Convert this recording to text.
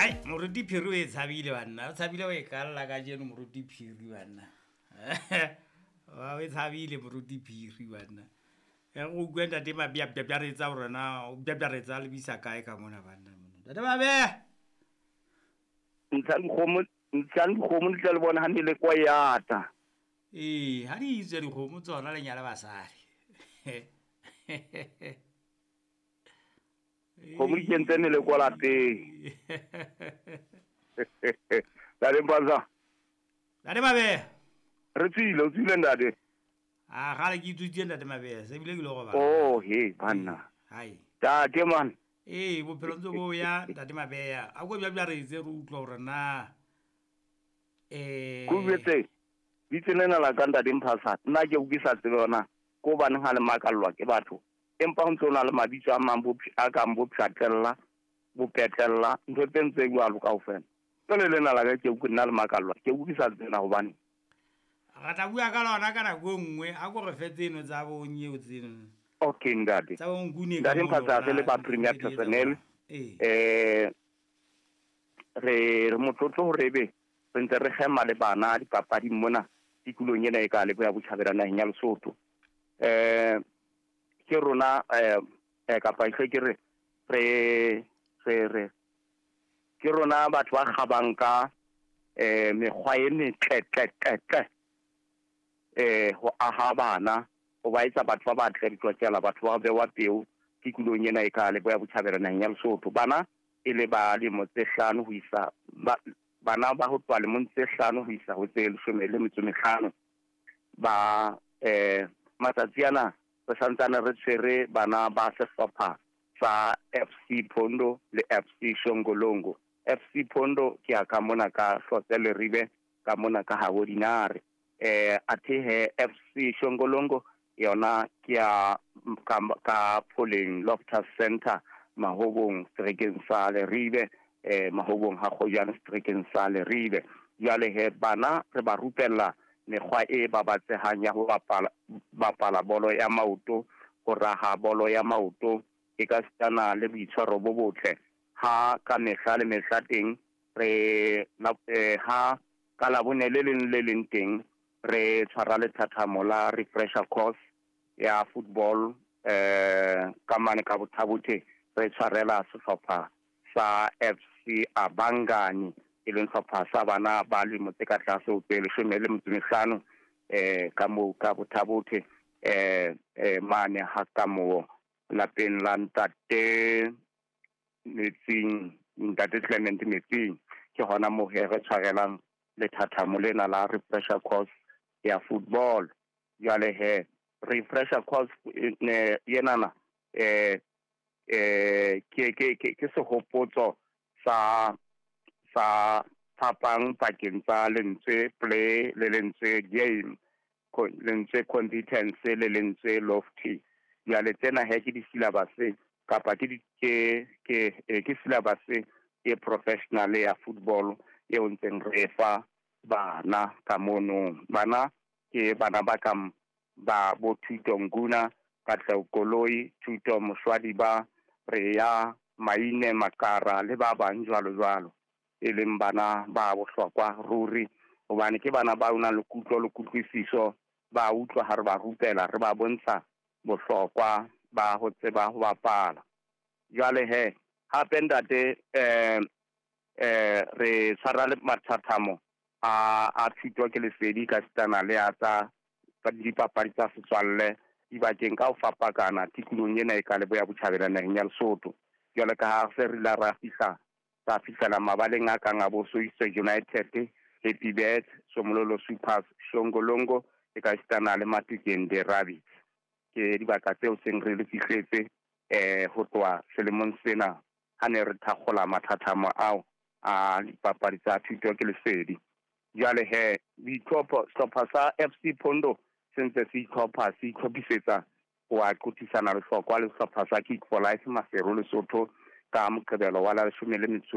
Ai, moruti Phiri o e tshabile banna, o tshabile o e kalla kajeno moruti Phiri banna. O e tshabile moruti Phiri banna. E go utlwe ntate Mabea bjabjaretsa hore na o bjabjaretsa a lebisa kae ka mona banna. Ntate Mabea. Ntshang dikgomo, ntshang dikgomo di tla le bona ha meleko e ata. Ee, ha di itswe dikgomo tsona le nyala basadi. Kgomo di kentse meleko lapeng. Ntate Mpanza. Ntate Mabea. Re tswile, o tswile ntate. A gale ke itswitse ntate Mabea, se bile ke lo robala. Oh, he, banna. Hai. Tate man. Ee, bophelo ntse bo ya ntate Mabea. A ko bja re itse re utlwa hore na eh Ko jwetse. Bitse lena la ka ntate Mphasa. Nna ke ke sa tsebe yona. Ko baneng ha le makallwa ke batho. Empa ho ntse ho na le mabitso a mang bo a kang bo pshatlella, bo petlella, ntho tse ntse jwalo kaofela. Jwale lena la ka ke ke nna le makallwa. Ke ke sa tsebe na hobane. Re tla bua ka lona ka nako e nngwe, a ko re fe tseno tsa bo nyeo tseno. Okay ntate. Tsa bo nkune ka Ntate mono Mphasa re le ba rona, Premier di etsa Personnel. jwang? Ee. Re motlotlo hore ebe re ntse re kgema le bana dipapading mona tikolong ena e ka Leboya Botjhabela naheng ya Lesotho. Ke rona kapa ehle ke re, re, re, re, ke rona batho ba kgabang ka mekgwa e metle, tle, tle, tle, ho aha bana, ho ba etsa batho ba batle ditlotlela, batho ba bewa peo tikolong ena e ka Leboya Botjhabela naheng ya Lesotho. Bana e le ba lemo tse hlano ho isa ba, bana ba ho tloha lemong tse hlano ho isa ho tse leshome le metso e mehlano. Ba matsatsi ana re santsane re tshwere bana ba sehlopha sa FC Pondo le FC Shongolongo. FC Pondo ke ya ka mona ka Hlotse Leribe, ka mona ka habo Dinare. Athe he FC Shongolongo yona ke ya ka Pholeng Loftus Center Mahobong seterekeng sa Leribe, Mahobong ha Kgojane seterekeng sa Leribe. Jwale he bana re ba rupella mekgwa e babatsehang ya ho bapala bolo ya maoto, ho raha bolo ya maoto, e ka sitana le boitshwaro bo botle. Ha ka mehla le mehla teng re ha ka Labone le leng le leng teng re tshwara lethathamo la refresher course ya football, ka mane ka Bothabothe re tshwarela sehlopha sa FC Abangani, e leng sehlopha sa bana ba lemo tse ka tlase ho tse leshome le metso e mehlano, ka moo ka Bothabothe, mane ha ka moo lapeng la ntate Metsing, ntate Clement Metsing. Ke hona moo he re tshwarelang lethathamo lena la refresher course ya football. Jwale he refresher course ne yenana, ke sehopotso sa phapang pakeng tsa lentswe play le lentswe game, lentswe competence le lentswe lofty. Jwale tsena he ke di-syllabus kapa ke di, ke, ke, ke syllabus e professional ya football eo ntseng re fa bana ka mono. Bana ke bana ba kang ba bo Thuto Nkuna, Katleho Koloi, Thuto Moshwadi ba Rea, Maine Makara le ba bang jwalo jwalo, e leng bana ba bohlokwa ruri, hobane ke bana ba nang le kutlo le kutlwisiso, ba utlwa ha re ba rupela, re ba bontsha bohlokwa ba ho tseba ho bapala. Jwale he hape ntate, re tshwara le mathathamo a thuto ke lesedi ka sitana le a tsa dipapadi tsa setswalle dibakeng ka ho fapakana tikolong ena e ka Leboya Botjhabela naheng ya Lesotho. Jwale ka ha se re la ra fihla, ra fihlela mabaleng a kang a bo Soweto United, Happy Birds, Somololo Supers, Shongolongo e ka sitana le Matukeng the Rabbits. Ke dibaka tseo seng re le fihletse, ho tloha selemong sena ha ne re thakgola mathathamo ao a dipapadi tsa thuto ke lesedi. Jwale he boitlhopho, sehlopha sa FC Pondo se ntse se itlhopha, se itlhophisetsa ho a qothisana lehlokwa le sehlopha sa Kick for Life Maseru Lesotho ka Moqebelo wa la leshome le metso